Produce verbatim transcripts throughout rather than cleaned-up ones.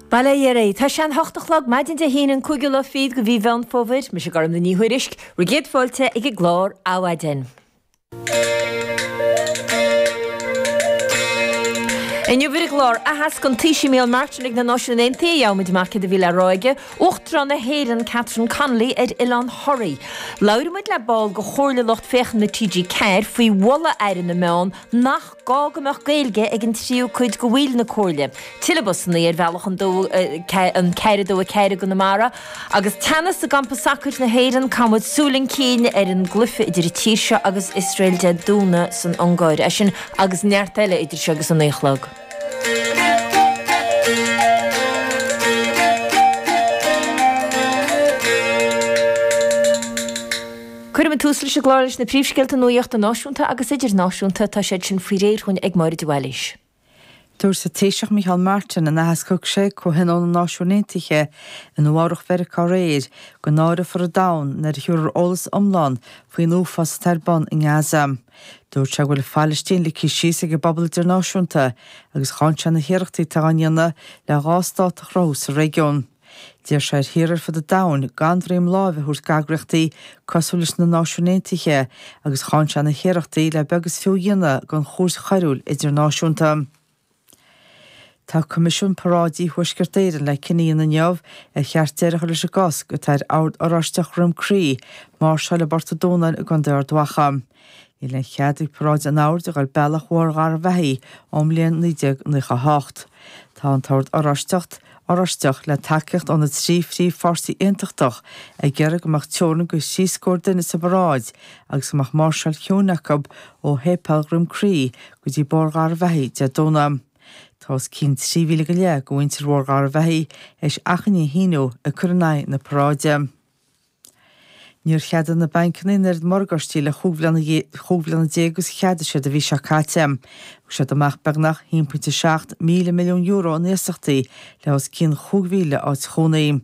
Bail ó Dhia oraibh. Tá sé an hocht a chlog maidin Dé hAoine an cúigiú lá fichead de mhí Mheán Fómhair, mise Gormfhlaith Ní Thuairisg, bhur gcéad fáilte ag an gclár Adhmhaidin. Inniu ar an gclár, aitheasc an Taoisigh Micheál Martin ag na Náisiúin Aontaithe, gheobhaimid amach céard a bhí le rá aige, Uachtarán na hÉireann Catherine Connolly ar Oileán Thoraí. Labhróidh muid le ball de Chomhairle Lucht Féachana T G ceathair faoi mholadh Aire na Meán nach gá go mbeadh Gaeilge ag an tríú cuid de bhaill na Comhairle. Tuilleadh busanna ar bhealach an an ceathair a dó a ceathair i gConamara agus teannas i gcampa sacair na hÉireann, caithfidh muid súil chun cinn ar an gcluiche idir an tír seo agus Iosrael Dé Domhnaigh san Ungáir. É sin agus neart eile idir seo agus a naoi a chlog. Cuirfidh muid tús leis an gclár leis na príomhscéalta nuachta náisiúnta agus idirnáisiúnta. Tá siad sin faoi réir dhúinn ag Máire de Bhailís. Dúirt an Taoiseach Micheál Martin in aitheasc a thug sé ag Comhthionól na Náisiún Aontaithe i Nua Eabhrac Mheiriceá aréir go náireofar an domhan nuair a thabharfar eolas iomlán faoin uafás atá ar bun i nGaza. Dúirt sé go bhfuil an Phalaistín ligthe síos ag an bpobal idirnáisiúnta agus cháin sé na hiarrachtaí atá á ndéanamh le dhá stát a chruthú sa réigiún. D'iarr sé ar thíortha ar fud an domhain gan droim láimhe a thabhairt d'eagraíochtaí cosúil leis na Náisiúin Aontaithe agus cháin sé na hiarrachtaí le beag is fiú a dhéanamh den Chúirt Choiriúil Idirnáisiúnta. Tá Coimisiún Paráidí Thuaisceart Éireann le cinneadh a dhéanamh inniu ar cheart deireadh a chur leis an gcosc atá ar Ord Oráisteach Dhroim Crí máirseáil i bPort an Dúnáin i gContae Ard Mhacha. Níl aon chead ag paráid an Oird a dhul bealach Bhóthar Gharbhachaidh ón mbliain naoi déag nócha a hocht. Tá an tOrd Oráisteach Oráisteach, le tacaíocht ó na trí phríomhpháirtí aontachtach, ag iarraidh go mbeadh teorainn de thrí scór duine sa bparáid agus go mbeadh máirseáil chiúin acu ó Shéipéal Dhroim Crí go dtí Bóthar Gharbhachaidh Dé Domhnaigh. Tá os cionn trí mhíle go leith de mhuintir Bhóthar Gharbhachaidh théis achainí a shíniú ag cur in aghaidh na paráide. Níor cheadaigh na bancanna an oiread morgáistí le chúig bhliana déag agus a cheadaigh siad an mhí seo caite. Thug siad amach beagnach a haon pointe seacht míle milliún euro in iasachtaí le os cionn chúig mhíle áit chónaí.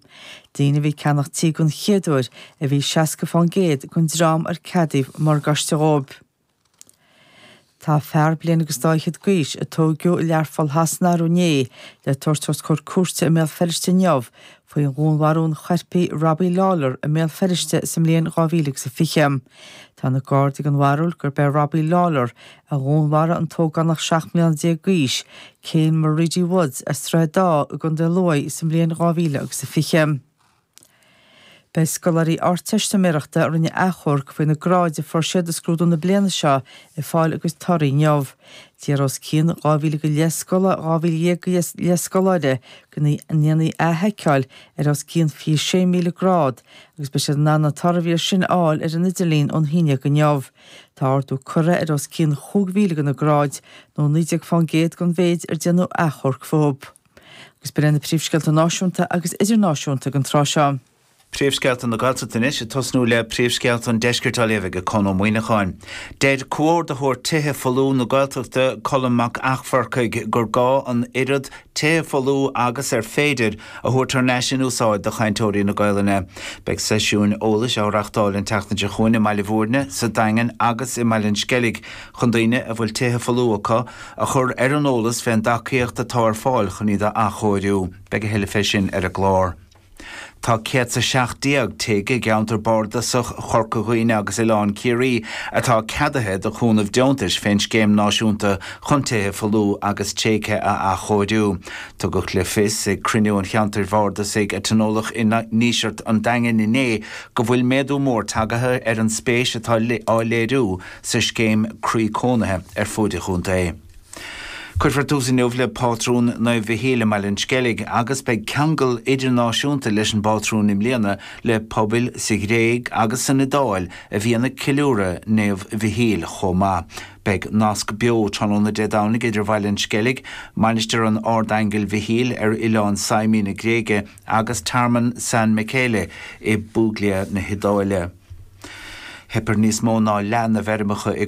Daoine a bhí ag ceannach tí den chéad uair a bhí seasca fán gcéad den dream ar ceadaíodh morgáiste dhóibh. Tá fear bliain agus dá fhichead d'aois, a tóigeadh i Learpholl Shasana arú inné, le tabhairt os comhair cúirte i mBéal Feirste inniu faoi dhúnmharú an choirpigh Robbie Lawlor i mBéal Feirste sa mbliain dhá mhíle agus a fiche. Tá na Gardaí den bharúil gurb é Robbie Lawlor a dhúnmharaigh an t-ógánach seacht mbliana déag d'aois, Kane Moriarty Woods as Droichead Átha i gContae Lú sa mbliain dhá mhíle agus a fiche. Beidh scoláirí Ardteistiméireachta a rinne achomharc faoi na gráid a fuair siad i scrúdú na bliana seo ag fáil a gcuid torthaí inniu. D'iarr os cionn dhá mhíle go leith scoláire dhá mhíle dhéag go leith scoláire go ndéanfaí athsheiceáil ar os cionn fiche sé míle grád agus beidh siad in ann na torthaí sin a fháil ar an idirlíon ón haon déag inniu. Tá ardú curtha ar os cionn chúig mhíle de na gráid, nó naoi déag fán gcéad den mhéid ar déanadh achomharc fúthu. Agus b'in iad na príomhscéalta náisiúnta agus idirnáisiúnta don tráth seo. Príomhscéalta na Gaeltachta anois, ag tosnú le príomhscéalta an Deiscirt á léamh ag Conn Ó Muíneacháin. Deir Comhordaitheoir Tithe Folmha na Gaeltachta, Colm Mac Eachmharcaigh, gur gá an oiread tithe folmha agus ar féidir a thabhairt thar n-ais in úsáid do chainteoirí na Gaelainne. Beidh seisiúin eolais á reachtáil an tseachtain seo chugainn i mBaile Bhúirne, sa Daingean agus i mBaile an Sceilg chun daoine a bhfuil tithe folmha acu a chur ar an eolas fén dtacaíocht atá ar fáil chun iad a athchóiriú. Beidh a thuilleadh fé sin ar an gclár. Tá céad 's a seacht déag tigh i gceantar bardasach Chorca Dhuibhne agus Oileán Ciarraí atá ceadaithe do chúnamh deontais fén Scéim Náisiúnta chun Tithe Folmha agus Tréigthe a Athchóiriú. Tugadh le fios ag cruinniú an cheantair bhardasaigh a tionóladh i nDíseart an Daingin inné go bhfuil méadú mór tagaithe ar an spéis atá á léiriú sa scéim Croí Cónaithe ar fuaid an chontae. Cuirfear tús inniu le Pátrún Naomh Mhichíl i mBaile an Sceilg agus beidh ceangal idirnáisiúnta leis an bpátrún i mbliana le pobail sa Ghréig agus san Iodáil a bhíonn ag ceiliúradh Naomh Mhichíl chomh maith. Beidh nasc beo tráthnóna Dé Domhnaigh idir Bhaile an Sceilg, Mainistir an Ardaingil Mhichíl ar oileán Symi na Gréige agus Tearmann San Michele i bPuglia na hIodáile. Theip ar níos mó ná leath na bhfeirmeacha i